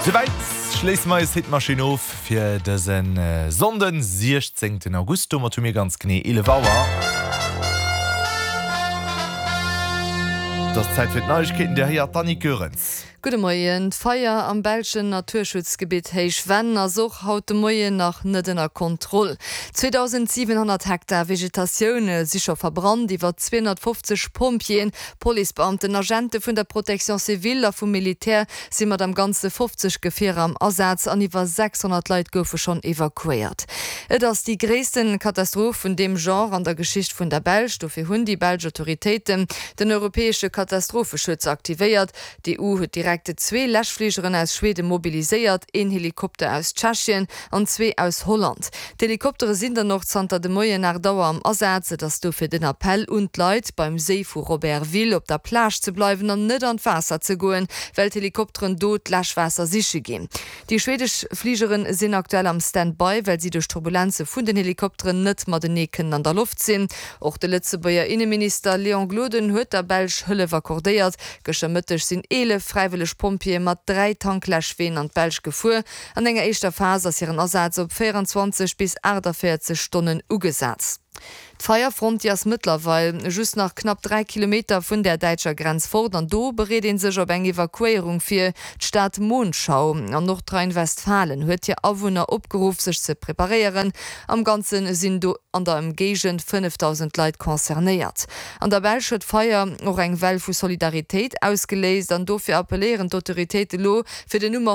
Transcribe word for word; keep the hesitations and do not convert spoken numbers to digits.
Souwäit schléisse mer eis Hitmaschinn of fir dësen Sonnden, siechzéngten August. Domat hu mir ganz genee eelef Auer. Et ass Zäit fir d'Neiegkeeten. Dir héiert d'Annick Goerens. Gudde Moien. D'Feier am belschen Naturschutzgebitt Héich Venn ass och haut de Moien nach net ënner Kontroll. zweedausendsiwenhonnert Hektar Vegetatioun si scho verbrannt. Iwwer zweehonnertfofzeg Pompjeeën, Policebeamten, Agente vun der Protection civile a vum Militär si mat am Ganze fofzeg Gefierer am Asaz an iwwer sechshonnert Leit goufe schonn evakuéiert. Et ass déi gréissten Katastroph vun deem Genre an der Geschicht vun der Belsch. Dofir hunn déi belsch Autoritéiten den europäesche Katastropheschutz aktivéiert. D'EU huet direkt zwee Läschfligeren aus Schweden mobiliséiert, een Helikopter aus Tschechien an zwee aus Holland. D'Helikoptere sinn dann och zanter de Moien aacht Auer am Asaz. Et ass dofir den Appell un d'Leit, beim Séi vu Robertville op der Plage ze bleiwen an net an d'Waasser ze goen, well d'Helikopteren do d'Läschwaasser siche ginn. Déi schwedesch Fligere sinn aktuell am Stand-by, well si duerch Turbulenze vun den Helikopteren net matenee kënnen an der Loft sinn. Och de Lëtzebuerger Inneminister Léon Gloden huet der Belsch Hëllef accordéiert. Gëschter Mëtteg sinn eelef fräiwëlleg Pompjeeë mat dräi Tankläschween an d'Belsch gefuer. An enger éischter Phas ass hiren Asaz op véierundzwanzeg bis aachtavéierzeg Stonnen ugesat. D'Feierfront, déi ass mëttlerweil just nach knapp dräi Kilometer vun der däitscher Grenz fort an do bereet ee sech op eng Evakuéierung vir. D'Stad Monschau an Nordrhein-Westfalen huet hir Awunner opgeruff, sech ze preparéieren. Am Ganze sinn do an der Ëmgéigend fënnefdausend Leit concernéiert. An der Belsch huet d'Feier och eng Well vu Solidaritéit ausgeléist an dofir appelléieren d'Autoritéite lo, fir den Nummer.